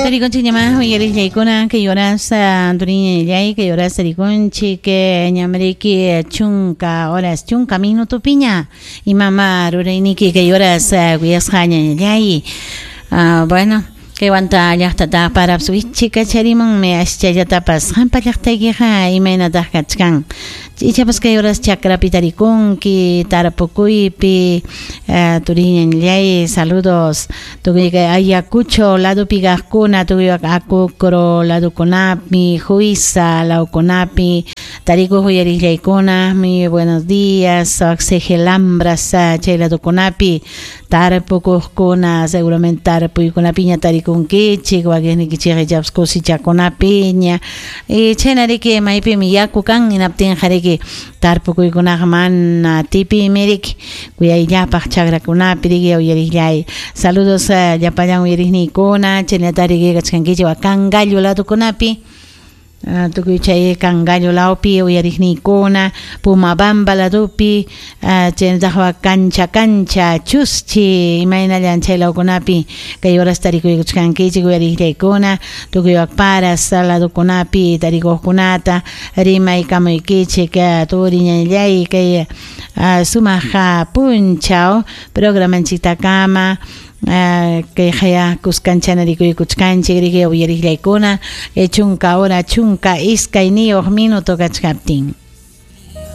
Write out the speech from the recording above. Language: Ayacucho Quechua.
Tarikunchik ñama uyariqllaykuna kay horas turiñallay kay horas tarikunchik ñamriki chunka horas chunka minutopiña imama rurayniki kay horas kuyasqa ñañallay. Bueno, kay wanta llaqtata paraps wichikacharimunmi aschallatapas qampa llaqtaykiqa imaynataq kachkan ichapas kay horas chakrapi tarikunki tarpukuypi turiñallay saludos tukuy kay Ayacucho ladopi kaqkuna tukuy Acocro ladokunapi Huiza lawkunapi tarikuq uyariqllaykuna muy buenos días Xegelambras chay ladokunapi tarpukuqkuna seguramente tarpuykunapiña tarikunkichik wakiqnikichik ichapas cosichakunapiña y chaynariki maypimi yaku kan hinaptinqa riki tarpukuykunaqa mana tipimi riki kuyayllapaq chakrakunapi riki uyariqllay saludos llapallan uyariqniykuna chaynata riki kachkankichik Cangallo ladokunapi tukuy chay Cangallo lawpi uyariqniykuna Pumabamba ladopi chaynataq Cancha Cancha Chuschi imaynallan chay lawkunapi kay horas tarikuykuchkankichik uyariqllaykuna tukuy Paras ladokunapi tarikuqkunata rimaykamuykichik turiñallay kay sumaq punchaw programanchiktakama kay haya kuskanchana rikuykuchkanchik riki uyariqllaykuna chunka hora chunka iskayniyuq minuto kachkaptin.